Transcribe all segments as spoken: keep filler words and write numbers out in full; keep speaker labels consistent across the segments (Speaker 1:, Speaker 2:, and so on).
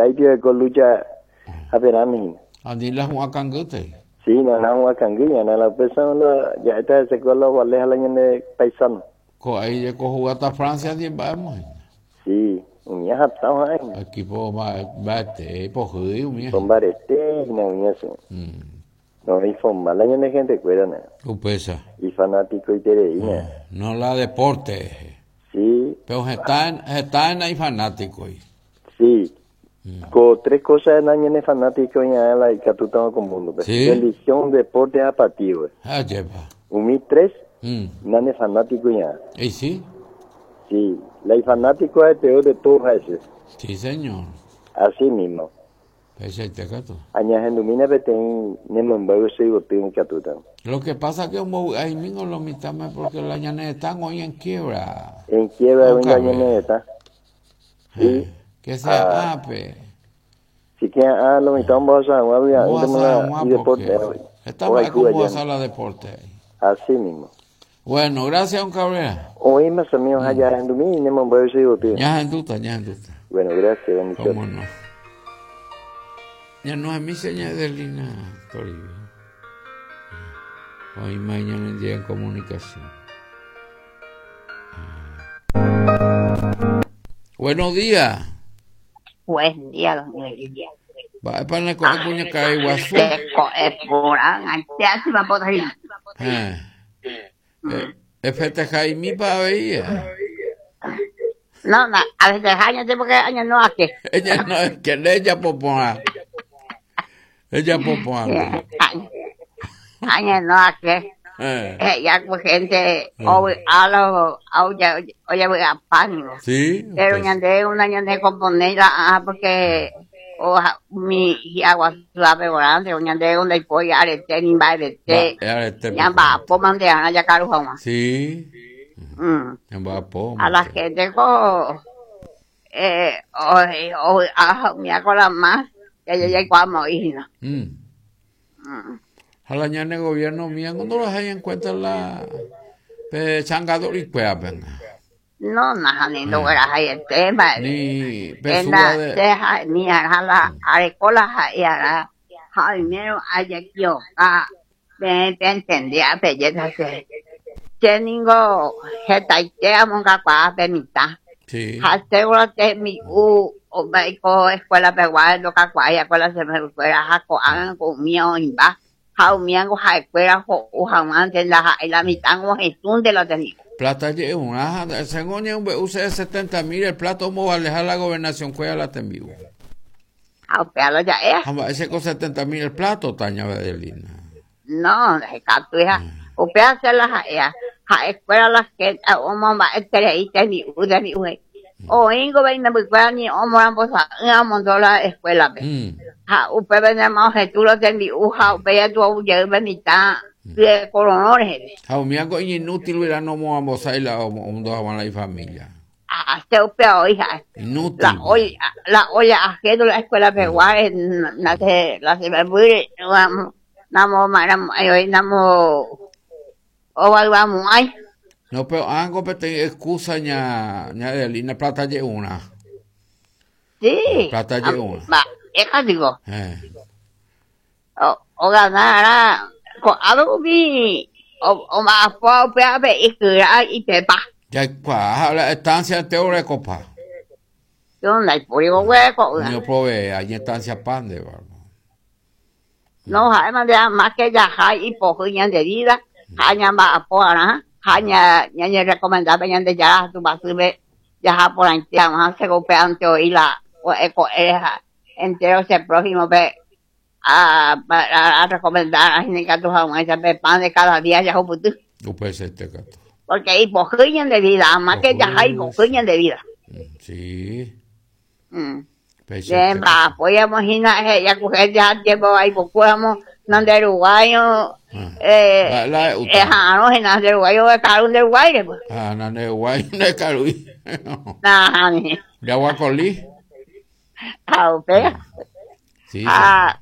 Speaker 1: Taipio de lucha aperami.
Speaker 2: Andi la huacangute.
Speaker 1: Sí, no, no, huacangui, no, la pesa la ya está ese con los vales a la ñane paisano.
Speaker 2: Co ahí llegó jugata Francia diez vamos.
Speaker 1: Sí, uña hatao ahí.
Speaker 2: Equipo va va este pojuí uña.
Speaker 1: Con barete, no uña eso.
Speaker 2: Mm.
Speaker 1: No, y forma la ñane gente cuera na.
Speaker 2: Upesa.
Speaker 1: Y fanático y tereína.
Speaker 2: No la deporte.
Speaker 1: Sí.
Speaker 2: Pero está en está en ahí fanático ahí.
Speaker 1: Sí.
Speaker 2: Mm.
Speaker 1: Con tres cosas en año en fanático y a la catuta con mundo.
Speaker 2: Sí.
Speaker 1: Religión, deporte, apatía.
Speaker 2: Ah, lleva.
Speaker 1: Umi tres,
Speaker 2: Mm.
Speaker 1: nane fanático ya.
Speaker 2: ¿Y sí?
Speaker 1: Sí, la y fanático es el peor de todos esos.
Speaker 2: Sí, señor.
Speaker 1: Así mismo.
Speaker 2: Pese te cato.
Speaker 1: Añagendumina beten nemombago sigo tin catuta.
Speaker 2: Lo que pasa que un ahí mismo lo mitame porque la ñane están hoy en quiebra.
Speaker 1: En quiebra
Speaker 2: No
Speaker 1: venga
Speaker 2: cabe.
Speaker 1: ñaneta.
Speaker 2: Eh, que sea
Speaker 1: Ah.
Speaker 2: ape.
Speaker 1: Si que ah lo mitad vos a agua
Speaker 2: Vos a
Speaker 1: y deporte.
Speaker 2: Está
Speaker 1: Hoy
Speaker 2: mal como
Speaker 1: cuba
Speaker 2: a la deporte.
Speaker 1: Así mismo.
Speaker 2: Bueno, gracias, don Cabrera.
Speaker 1: Hoy más amigos allá en Dumí nemombago sigo tin.
Speaker 2: Ya genduta, ya genduta.
Speaker 1: Bueno, gracias, bendiciones.
Speaker 2: ¿Cómo no? Ya no es mi señal de Lina Toribio. Hoy mañana en día en comunicación. Buenos días.
Speaker 3: Buen día, don Elia.
Speaker 2: Va para la coja cuña cae guasú. Eh. Eh, Efete Jaime pa veía.
Speaker 3: No, no, a veces años porque años no aquí.
Speaker 2: Ella no es que ella popoa. Ella popoa.
Speaker 3: Años no aquí.
Speaker 2: Eh.
Speaker 3: Eh, ya pues gente, hoy a lo, oye, oye, voy a pánico.
Speaker 2: Sí.
Speaker 3: Pero
Speaker 2: pues,
Speaker 3: ñande, una ñande componerla, ah, porque o mi agua suave grande, ñande donde voy arete ni va arete.
Speaker 2: va, arete,
Speaker 3: Ya va, po mande a ya caro jamás.
Speaker 2: Sí.
Speaker 3: Mm.
Speaker 2: Ya va po.
Speaker 3: A la gente co eh o o a mi acola más que yo ya cuamo y no.
Speaker 2: Mm.
Speaker 3: Mm.
Speaker 2: A la ñane gobierno mía, cuando los hay en cuenta la pe changador y cuea venga.
Speaker 3: No, nada, ni no era ahí el tema.
Speaker 2: Ni
Speaker 3: En
Speaker 2: pesura
Speaker 3: la
Speaker 2: de
Speaker 3: deja ni a la arecola y a la jaimero ayakio a ven entendía belleza se teningo jetaitea monga kwa benita.
Speaker 2: Sí.
Speaker 3: Haseguro te mi u o maiko escuela peguá lo ka kwa ya escuela se me fuera jaco hagan con mío imba. Jaumiango ja escuela jo u jaman de la la mitad o jesún de la tenigo.
Speaker 2: Plata lleva una, según un U C setenta mil, el plato cómo va a alejar la gobernación cuella la vivo.
Speaker 3: Ah, pero ya es.
Speaker 2: Ese con setenta mil el plato, Taña Bedelina.
Speaker 3: No, de hija. Usted hace la ja, ja escuela las que o mamá este y te mi u de mi u. O ingo ven me escuela ni o moran pues a montó la escuela.
Speaker 2: Mm.
Speaker 3: Ja, usted ven más tú lo de mi u ja, usted ya tu ya mitad de coronores.
Speaker 2: Jaumiango inútil hubiera no movamos ahí la un dos a la familia.
Speaker 3: Ah, se upea hija.
Speaker 2: Inútil.
Speaker 3: La olla, la olla ajeno la escuela peguare, na se la se me muere, namo namo maram ay namo o vamos ay.
Speaker 2: No, pero algo pero excusa ña ña de línea plata lle una.
Speaker 3: Sí.
Speaker 2: Plata lle una.
Speaker 3: Va, es digo.
Speaker 2: Eh.
Speaker 3: O o ganará con algo vi o o más po pe pe y y te pa.
Speaker 2: Ya cuál la estancia te ore copa.
Speaker 3: Yo no hay por hueco.
Speaker 2: Yo probé allí estancia pan de barba.
Speaker 3: No, además de más que ya hay y poco y de vida, haña va po ara, haña ña recomendaba ña de ya tu basube ya por ahí más se golpe ante oí la o eco entero ese prójimo ve a, a, a recomendar a gente que tu esa pan de cada día ya putu.
Speaker 2: Este gato.
Speaker 3: Porque hay poquillo de vida, más que ya hay poquillo de vida.
Speaker 2: Sí.
Speaker 3: Mm. Bien, va, podíamos ir a ya coger ya tiempo ahí, podíamos de uruguayo, eh,
Speaker 2: la,
Speaker 3: eh, no, en de uruguayo, de carun de uruguay, pues.
Speaker 2: Ah, no, de uruguay, de carun.
Speaker 3: Nah, ni.
Speaker 2: De aguacolí.
Speaker 3: Ah, usted.
Speaker 2: Sí.
Speaker 3: Ah,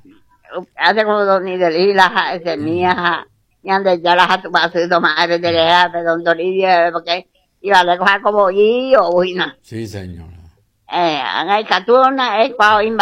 Speaker 3: hace como dos ni de lila, ese mía, y ande ya las tu pasito madre de la de don Toribio, porque iba a coger como yo, buena.
Speaker 2: Sí, señora.
Speaker 3: Eh, angai katuna eh pa imba